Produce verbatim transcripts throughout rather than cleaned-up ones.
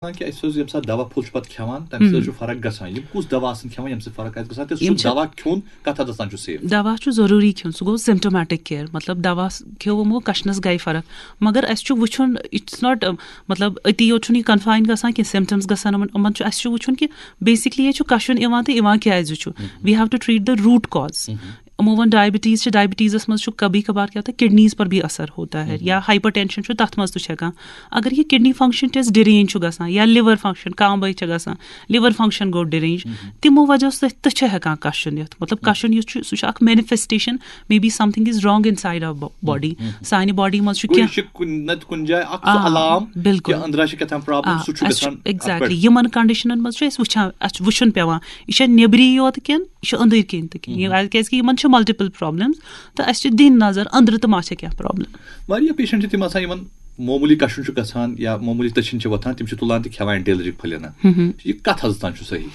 وَنان کہِ اَسہِ اوس ییٚمہِ ساتہٕ دوا پھوٚل چھُ پَتہٕ کھٮ۪وان، تَمہِ سۭتۍ چھُ فرق گژھان۔ یِم کُس دوا آسَن کھٮ۪وان، ییٚمہِ سۭتۍ فرق آسہِ گژھان، تہٕ سُہ یِم چھِ دوا کھیوٚن کَتھ حدس تام چھُ safe؟ دوا چھُ ضروٗری کھیوٚن، سُہ گوٚو symptomatic care، مطلب دوا س-، کھیوٚو یِمو، کَشنَس گٔے فرق۔ مگر اَسہِ چھُ وٕچھُن، it's not، مطلب أتی یوت چھُنہٕ یہِ confine گژھان کینٛہہ، symptoms گژھان یِمَن، یِمَن چھُ، اَسہِ چھُ وٕچھُن کہِ basically یہِ چھُ کَشُن یِوان تہٕ یِوان کیٛازِ چھُ۔ We have to treat the root cause۔ یِمو ووٚن diabetes چھِ، diabetes منٛز چھُ کبھی کبھار کیا ہوتا ہے، kidneys پر بھی اثر ہوتا ہے، یا hypertension چھُ، تَتھ منٛز تہِ چھُ ہٮ۪کان۔ اگر یہِ kidney function test derange چھُ گژھان، یا liver function، کانٛہہ بٲے چھِ گژھان، liver function گوٚو derange، تِمو وجہ سۭتۍ تہِ چھِ ہٮ۪کان کَشُن یِتھ۔ مطلب کَشُن یُس چھُ، سُہ چھُ اَکھ manifestation، maybe something is wrong inside our body۔ سانہِ body منٛز چھُ گوٚو، یہِ کینٛہہ چھِ کُنہِ نَتہٕ کُنہِ جایہِ اَکھ سُہ آ، علام بِلکُل۔ کہِ أنٛدرا چھِ کیٛاہ تام problem، آ، سُہ چھُ اَسہِ چھُ گژھان اَتھ exactly پٮ۪ٹھ۔ یِمَن conditionن منٛز چھُ اَسہِ وٕچھان، اَسہِ چھُ وٕچھُن پٮ۪وان، یہِ چھا نیٚبری یوت کِنہٕ یہِ چھُ أنٛدٕرۍ کِنۍ تہِ کِنہٕ؟ یہِ، کیٛازِ کہِ یِمَن چھِ multiple problems، تہٕ اَسہِ چھِ دِنۍ نظر أنٛدرٕ تہٕ ما چھےٚ کینٛہہ problem۔ واریاہ patient چھِ تِم آسان، یِمَن معموٗلی کَشُن چھُ گژھان یا معموٗلی تٔچھِنۍ چھِ وۄتھان، تِم چھِ تُلان تہٕ کھٮ۪وان anti allergic پھٔلۍ اَنان۔ یہِ کَتھ حدس تام چھُ صحیح؟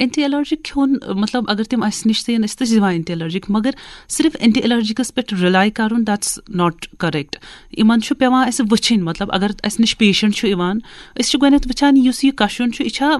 Anti allergic کھیوٚن، مطلب اگر تِم اَسہِ نِش تہِ یِن، أسۍ تہِ چھِ دِوان anti allergic، مگر صرف anti allergicس پٮ۪ٹھ rely کَرُن، that's not correct۔ یِمَن چھُ پٮ۪وان اَسہِ وٕچھِنۍ، مطلب اگر اَسہِ نِش patient چھُ یِوان، أسۍ چھِ گۄڈٕنٮ۪تھ وٕچھان یُس یہِ کَشُن چھُ، یہِ چھا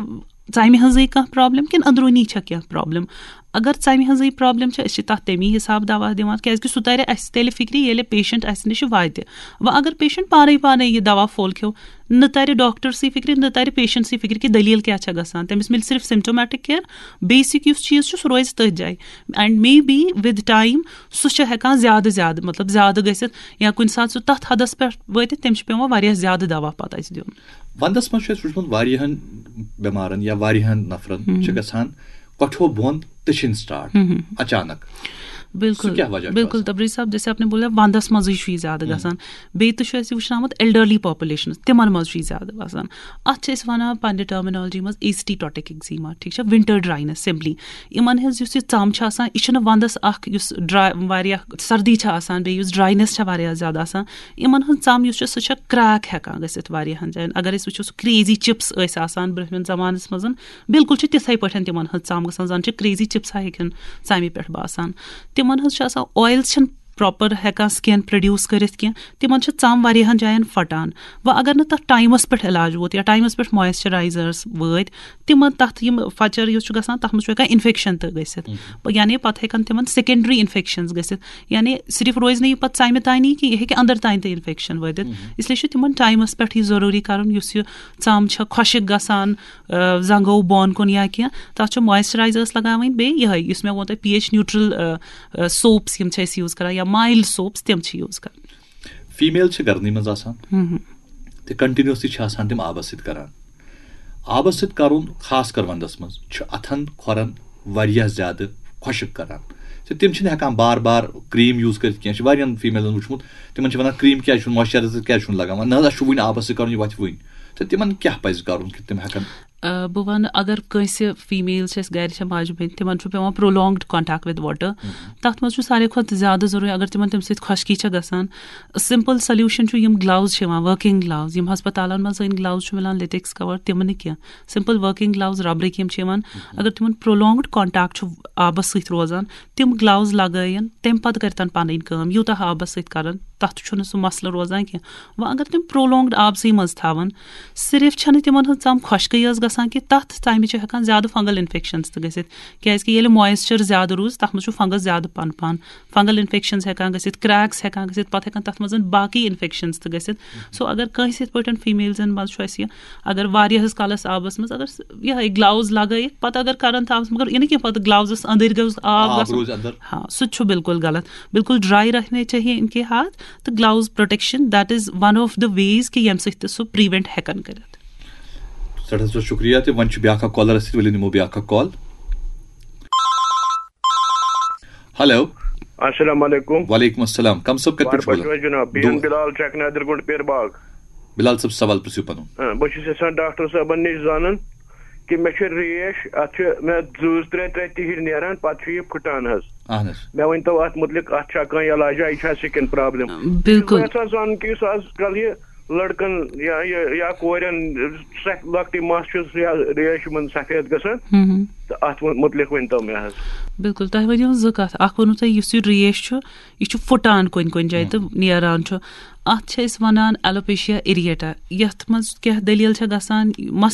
ژَمہِ ہٕنٛزٕے کانٛہہ problem کِنہٕ أنٛدروٗنی چھا کینٛہہ problem؟ اگر ژَمہِ ہٕنٛزٕے problem چھِ، أسۍ چھِ تَتھ تَمی حِساب دوا دِوان، کیٛازِکہِ سُہ تَرِ اَسہِ تیٚلہِ فِکرِ، ییٚلہِ patient اَسہِ نِش واتہِ۔ وۄنۍ اگر patient پانَے پانَے یہِ دوا پھوٚل کھیوٚو، نہ تَرِ doctorسٕے فِکرِ، نہ تَرِ patientسٕے فِکرِ کہِ دٔلیٖل کیٛاہ چھےٚ گژھان۔ تٔمِس مِلہِ صرف symptomatic care، basic یُس چیٖز چھُ، سُہ روزِ تٔتھۍ جایہِ۔ And maybe with time سُہ چھُ ہٮ۪کان زیادٕ زیادٕ، مطلب زیادٕ گٔژھِتھ، یا کُنہِ ساتہٕ سُہ تَتھ حدس پٮ۪ٹھ وٲتِتھ، تٔمِس چھُ پٮ۪وان واریاہ زیادٕ دوا پَتہٕ اَسہِ دیُن۔ وَندَس منٛز چھُ اَسہِ وٕچھمُت واریاہَن بٮ۪مارَن یا واریاہَن نفرَن چھِ گژھان کۄٹھیو بۄن تٔچھِنۍ start اچانک۔ بِلکُل، سُہ کیٛاہ وجہ چھُ بِلکُل، آسان؟ تبریز صٲب، جیسے آپ نے بولا، وَندَس منٛزٕے چھُ یہِ زیادٕ گژھان۔ بیٚیہِ تہِ چھُ اَسہِ وٕچھناومُت elderly populationس، تِمَن منٛز چھُ یہِ زیادٕ آسان۔ اَتھ چھِ أسۍ وَنان پنٛنہِ terminology منٛز acetotic eczema، ٹھیٖک چھا، winter dryness simply۔ یِمَن ہٕنٛز یُس یہِ ژَم چھِ آسان، یہِ چھِنہٕ وَندَس اَکھ یُس dry، واریاہ سردی چھِ آسان، بیٚیہِ یُس dryness چھےٚ واریاہ زیادٕ آسان، یِمَن ہٕنٛز ژَم یُس چھِ، سُہ چھےٚ crack ہٮ۪کان گٔژھِتھ واریاہَن جایَن۔ اگر أسۍ وٕچھو، سُہ crazy chips ٲسۍ آسان برٛونٛہمٮ۪ن زمانَس منٛز، بِلکُل چھِ تِتھَے پٲٹھۍ تِمَن ہٕنٛز ژَم گژھان، زَن چھِ crazy chips ہا ہیٚکن ژَمہِ پٮ۪ٹھ باسان۔ تِمَن ہٕنٛز چھِ آسان، oils چھِنہٕ proper ہٮ۪کان skin produce کٔرِتھ کینٛہہ، تِمَن چھِ ژَم واریاہَن جایَن پھٹان۔ وۄنۍ اگر نہٕ تَتھ timeس پٮ۪ٹھ علاج ووت یا timeس پٮ۪ٹھ moisturizers وٲتۍ، تِمَن تَتھ یِم پھچَر یُس چھُ گژھان، تَتھ منٛز چھُ ہٮ۪کان infection تہِ گٔژھِتھ۔ یعنی پَتہٕ ہٮ۪کَن تِمَن secondary infections گٔژھِتھ۔ یعنی صرف روزِ نہٕ یہِ پَتہٕ ژَمہِ تانی کینٛہہ، یہِ ہیٚکہِ اَندَر تانۍ تہِ infection وٲتِتھ۔ اِسلیے چھُ تِمَن timeس پٮ۪ٹھ یہِ ضروٗری کَرُن، یُس یہِ ژَم چھےٚ خۄشِک گژھان، آ، زنٛگو بۄن کُن یا کینٛہہ، تَتھ چھُ moisturizers لگاوٕنۍ۔ بیٚیہِ یِہوٚے، یُس مےٚ ووٚن تۄہہِ، pH neutral، آ، آ، soaps یِم چھِ أسۍ use کران، یا mild soaps، تِم چھِ use کران۔ Female چھِ گرنٕے منٛز آسان تہٕ continuously چھِ آسان تِم آبس سۭتۍ کران۔ آبس سۭتۍ کرُن، خاص کر ونٛدس منٛز، چھُ اتھن کھۄرن واریاہ زیادٕ خۄشک کران۔ تہٕ تِم چھِنہٕ ہٮ۪کان بار بار cream use کٔرِتھ کینٛہہ۔ چھِ واریاہن femaleن وٕچھمُت، تِمن چھِ ونان، cream کیٛازِ چھُنہٕ، moisturizer کیٛازِ چھُنہٕ لگاوان؟ نہ حظ، اَسہِ چھُ وٕنہِ آبس سۭتۍ کرُن، یہِ وۄتھِ وٕنہِ۔ تہٕ تِمن کیٛاہ پزِ کرُن کہِ تِم ہٮ۪کن آ، بہٕ وَنہٕ، اگر کٲنٛسہِ female چھِ اَسہِ گَرِ، چھےٚ ماجہِ بیٚنہِ، تِمَن چھُ پٮ۪وان prolonged contact with water۔ تَتھ منٛز چھُ ساروی کھۄتہٕ زیادٕ ضروٗری، اگر تِمَن تَمہِ سۭتۍ خۄشکی چھےٚ گژھان، simple solution چھُ یِم gloves چھِ یِوان، working gloves، یِم ہسپتالَن منٛز أنۍ gloves چھُ مِلان، latex cover، تِم نہٕ کینٛہہ، simple working gloves، ربرٕکۍ یِم چھِ یِوان۔ اگر تِمَن prolonged contact چھُ آبَس سۭتۍ روزان، تِم gloves لگٲیِن، تَمہِ پَتہٕ کٔرۍتَن پَنٕنۍ کٲم، یوٗتاہ آبَس سۭتۍ کَرَن، تَتھ چھُنہٕ سُہ مسلہٕ روزان کینٛہہ۔ وۄنۍ اگر تِم prolonged آبسٕے منٛز تھاوَن، صرف چھَنہٕ تِمَن ہٕنٛز ژَم خۄشکٕے یٲژ گژھان کینٛہہ، تَتھ ژَمہِ چھِ ہٮ۪کان زیادٕ fungal infections تہِ گٔژھِتھ، کیٛازِکہِ ییٚلہِ moisture زیادٕ روٗز، تَتھ منٛز چھُ fungus زیادٕ پَنپان، fungal infections ہٮ۪کان گٔژھِتھ، cracks ہٮ۪کان گٔژھِتھ، پَتہٕ ہٮ۪کَن تَتھ منٛز باقٕے infections تہِ گٔژھِتھ۔ So اگر کٲنٛسہِ یِتھ پٲٹھۍ femaleزَن منٛز چھُ اَسہِ یہِ، اگر واریاہَس کالَس آبَس منٛز اگر س-، یِہوٚے gloves لگٲیِکھ، پَتہٕ اگر کَرَن تھاوَس، مگر یہِ نہٕ کینٛہہ، پَتہٕ gloves اَندٕرۍ گوٚژھ آب آب گژھُن۔ روزِ اَندَر۔ ہاں، سُہ تہِ چھُ بِلکُل غلط۔ بِلکُل dry رہنے چاہیے ان کے ہاتھ۔ تہٕ gloves protection، that is one of the ways کہِ ییٚمہِ سۭتۍ تہِ سُہ prevent ہٮ۪کَن کٔرِتھ۔ سٮ۪ٹھاہ سٮ۪ٹھاہ شُکریہ۔ تہٕ وۄنۍ چھُ بیٛاکھ اَکھ caller اَسہِ سۭتۍ، ؤلِو نِمو بیٛاکھ اَکھ call۔ Hello۔ السلام علیکم۔ وعلیکم السلام۔ کم صٲب کَتہِ پٮ۪ٹھ چھُو وارٕ پٲٹھۍ بولان؟ چھِو حظ جناب؟ بی ایم دُعا۔ بلال، چیک نادر گُنڈ، پیر باغ۔ بلال صٲب، سوال پرٛژھِو پَنُن۔ آ، بہٕ چھُس یژھان ڈاکٹر صٲبَن نِش زانُن کہِ مےٚ چھِ ریش، اَتھ چھِ مےٚ زٕ ترٛےٚ ترٛےٚ تِہِرۍ نیران، پَتہٕ چھُ یہِ پھٕٹان حظ۔ اَہَن حظ۔ مےٚ ؤنۍ تو اَتھ مُتعلِق، اَتھ چھا کانٛہہ علاجا، یہِ چھا skin problem؟ بِلکُل۔ بہٕ یَژھان زانُن کہِ یُس آز کَل یہِ لڑکن یا یا یا کورٮ۪ن سخ- لۄکٹٕے مَس چھُس یا ریش یِمن سفید گژھان۔ ہم۔ تہٕ اتھ مُتعلق ؤنۍ تو مےٚ حظ۔ بِلکُل، تۄہہِ ؤنِو زٕ کَتھ۔ اَکھ ووٚنوٕ تۄہہِ، یُس یہِ ریش چھُ، یہِ چھُ پھُٹان کُنہِ کُنہِ جایہِ تہٕ نیران چھُ۔ اَتھ چھِ أسۍ وَنان alopecia areata۔ یَتھ منٛز کیٛاہ دٔلیٖل چھےٚ گژھان؟ مَس